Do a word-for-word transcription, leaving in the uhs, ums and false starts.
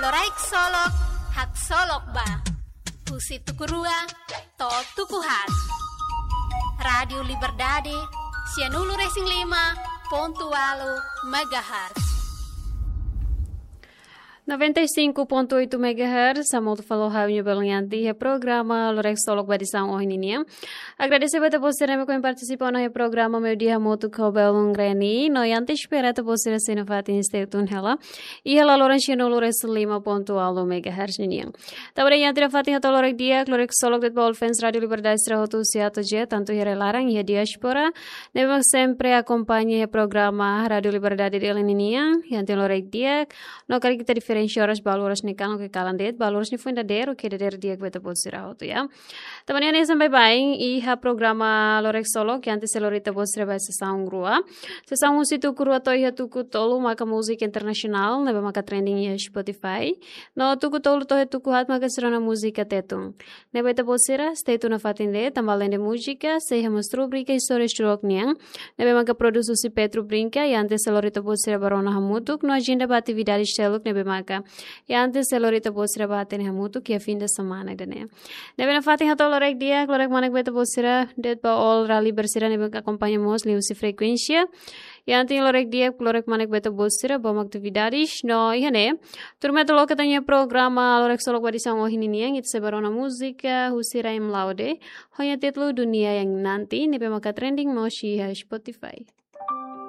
Loraik Solok, haksolok ba. Husi tuku rua to'o tuku haat. Rádiu Liberdade, sianulu-resin-lima pontu ualu megahertz. Noventa e cinco ponto oito megahertz, hamutuk fali ho ha'u-nia belun Yanti iha programa Loraik Solok ba edisaun ohin ninian. Agradese ba ita-boot sira ne'ebé ohin partisipa ona iha programa Meiudia hamutuk ho belun Reni. No Yanti espera ita-boot sira sei nafatin stay tune hela iha laloran sianulu-resin-lima pontu ualu megahertz ninian. Tanba ne'e Yanti nafatin hato'o loraik di'ak, loraik solok de'it ba all fans Rádiu Liberdade sira hotu husi A to'o Z, tantu iha rai-laran, iha diáspora, ne'ebé mak sempre akompaña iha programa Rádiu Liberdade Dili ninian. Yanti loraik di'ak, no karik ita diferensia oras, balu oras ne'e kalan ka kalan de'it, balu oras ne'e foin dadeer, oke, dadeer di'ak ba ita-boot sira hotu, ya. Tanba ne'e hanesan baibain iha programa Loraik Solok, Yanti sei lori ita-boot sira ba sesaun rua. Sesaun husi tuku rua to'o iha tuku tolu maka múzika internasionál, ne'ebé maka trending iha Spotify. No tuku tolu to'o iha tuku haat maka sira-nia múzika Tetun. Ne'ebé ita-boot sira stay tune nafatin de'it, tanba alende múzika, sei iha mós rubrika Istória Xurok nian, ne'ebé maka produs husi Petro Brinca, Yanti sei lori ita-boot sira ba rona hamutuk, no ajenda ba atividade seluk ne'ebé maka Yanti sei lori ita-boot sira ba hatene hamutuk iha fin de semana ida-ne'e. Ne'ebé nafatin hato'o loraik di'ak, loraik manek ba ita-boot sira de'it ba all raliber sira ne'ebé akompaña mós liuhusi frekuénsia. Yanti loraik di'ak, loraik manek ba ita-boot sira ba atividades. No iha ne'e, tuirmai ita loke ita-nia programa Loraik Solok ba edisaun ohin ninian, ita sei ba rona múzika husi Raheem Laude, ho nia títulu Dunia Yang Nanti, ne'ebé maka trending mós iha Spotify.